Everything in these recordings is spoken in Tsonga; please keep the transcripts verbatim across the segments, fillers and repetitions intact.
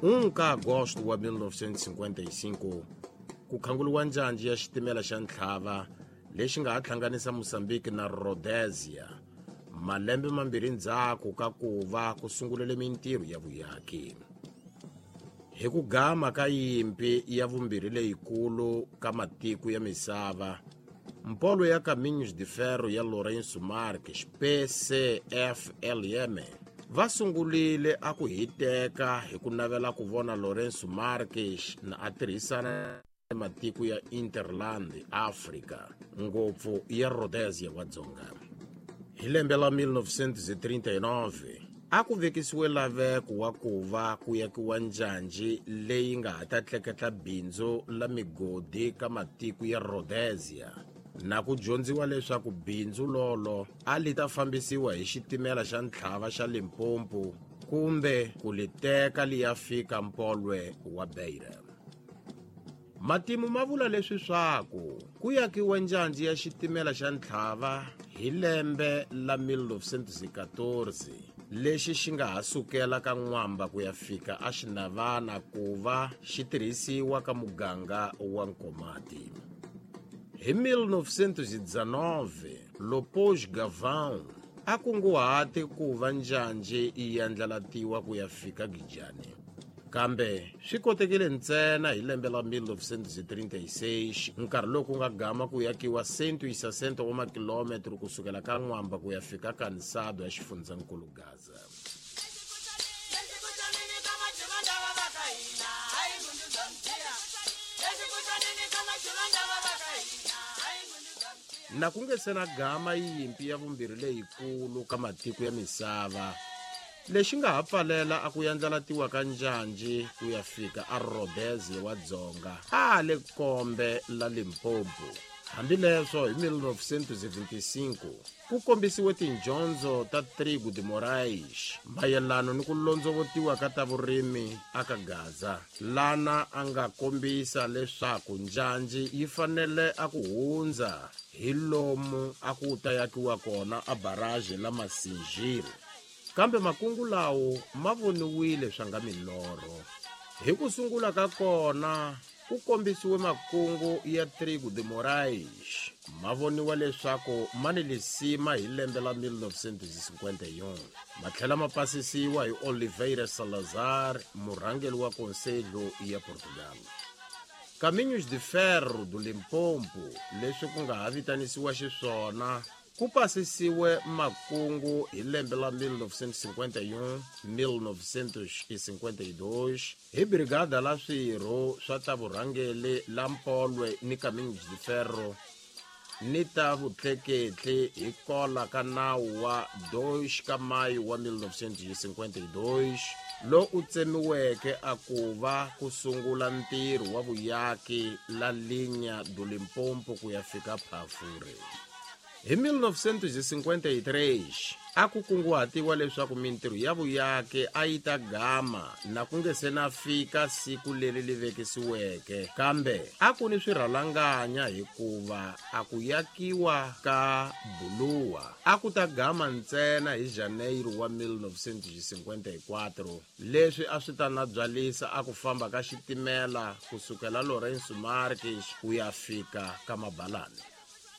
um ka Agosto wa mil novecentos e cinquenta e cinco ku khanguliwa njanji ya xitimela xa ntlhava lexi nga ha hlanganisa Mozambique na Rhodesia malembe mambirhi ndzhaku ka ku va ku sungulele mintirho ya vuyaki. Hi ku gama ka yimpi ya vumbirhi leyikulu ka matiko ya misava, mpolo ya Caminhos de Ferro ya Lourenço Marques P C F L M va sungulile a ku hiteka hi ku navela ku vona Lourenço Marques na a tirhisana na matiko ya Interland Africa, ngopfu ya Rhodesia wa Dzonga. Hi lembe la mil novecentos e trinta e nove a ku vekisiwe laveko wa ku va ku yakiwa njanji leyi nga ha ta tleketla bindzu la migodi ka matiko ya Rhodesia, na ku dyondziwa leswaku bindzu lolo a li ta fambisiwa hi xitimela xa ntlhava xa Limpopo kumbe ku li teka li ya fika mpolwe wa Beira. Matimu ma vula leswi swaku ku yakiwa njanji ya xitimela xa ntlhava hi lembe la mil novecentos e quatorze lexi xi nga ha sukela ka N'wamba ku ya fika a Xinavana ku va xi tirhisiwa ka muganga wa Nkomati. Hi mil novecentos e dezenove Lopes Gavão a kunguhate ku va njanji yi andlalatiwa ku ya fika Gijani, kambe swi kotekile ntsena hi lembe la mil novecentos e trinta e seis nkarhi lowu ku nga gama ku yakiwa cento e sessenta wa makilometro kusukela ka N'wamba ku ya fika Kansado ya xifundzankulu Gaza. Na ku nge se na gama yimpi ya vumbirhi leyikulu ka matiko ya misava, lexi nga ha pfalela a ku yandlalatiwa ka njanji ku ya fika a Rhodesia wa Dzonga a le kombe la Limpopo. Hambileswo hi mil novecentos e vinte e cinco ku kombisiwe tindyondzo ta Trigo de Moraes mayelano ni ku londzovotiwa ka ta vurimi aka Gaza, lana a nga kombisa leswaku njanji yi fanele a ku hundza hi lomu a ku ta yakiwa kona a barrage la Masinjiri. Kambe makungu lawo ma voniwile swa nga milorho. Hi ku sungula ka kona ku kombisiwe makungu ya Trigo de Moraes ma voniwa leswaku ma ni lisima hi lembe la mil novecentos e cinquenta e um, ma tlhela ma pasisiwa hi Oliveira Salazar, murhangeri wa Conselho ya Portugal. Caminhos de Ferro do Limpopo, leswi ku nga ha vitanisiwa xiswona, ku pasisiwe makungu hi lembe la mil novecentos e cinquenta e um, mil novecentos e cinquenta e dois hi brigada la swirho swa ta vurhangeri la Mpolwe ni Caminhos de Ferro ni ta vutleketli hi kola ka nawu wa dois ka mayu wa mil novecentos e cinquenta e dois lo u tsemiweke a ku va ku sungula ntirho wa vuyaki la linha do Limpopo ku ya fika Phafure. Hi mil novecentos e cinquenta e três a ku kunguhatiwa leswaku mintirho ya vuyaki a yi ta gama na ku nge se na fika siku leri li vekisiweke, kambe a ku ni swirhalanganya hikuva a ku yakiwa ka Buluwa a ku ta gama ntsena hi Janeiro wa mil novecentos e cinquenta e quatro, leswi a swi ta na byalisa a ku famba ka xitimela kusukela Lourenço Marques ku ya fika ka Mabalane.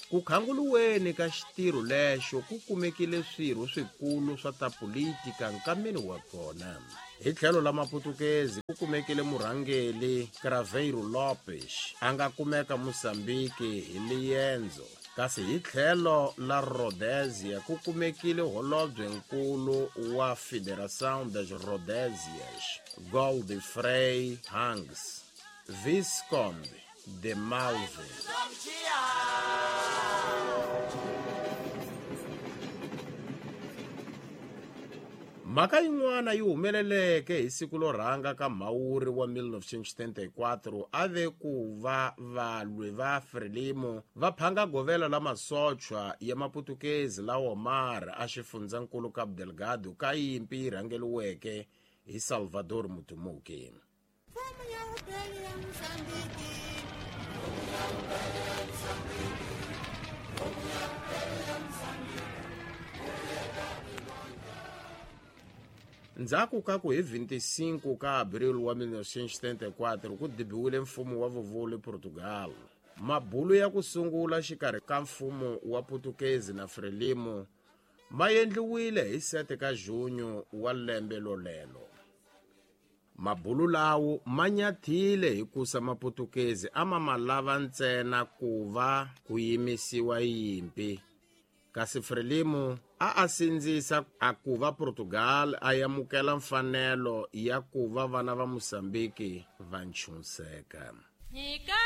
Ku khanguluweni ka xitirho lexo ku kumekile swirho swikulu swa ta politika nkameni wa kona. Hi tlhelo la Maputukezi ku kumekile murhangeri Craveiro Lopes a nga kumeka Mozambique hi liendzo, kasi hi tlhelo la Rhodesia ku kumekile holobyenkulu wa Federação das Rhodesias, Godfrey Hanks, Visconde de Malve. Mhaka yin'wana yi humeleleke hi siku lo rhanga ka Mhawuri wa mil novecentos e setenta e quatro a ve ku va valwi va Frelimo va phanga govela la masochwa ya Maputukezi la Omar a xifundzankulu Cabo Delgado ka yimpi yi rhangeriweke hi Salvador Mutumuki. Ndzhaku ka ku hi vinte e cinco ka Abril wa mil novecentos e setenta e quatro ku dibiwile mfumo wa vuvuli Portugal, mabulu ya ku sungula xikarhi ka mfumo wa Putukezi na Frelimo ma endliwile hi sete ka Junho wa lembe lolelo. Mabulu lawo ma nyathile hikusa Maputukezi a ma ma lava ntsena ku va ku yimisiwa yimpi, kasi Frelimo a a sindzisa a ku va Portugal a amukela mfanelo ya ku va vana va Musambiki va ntshuxeka. Nyika.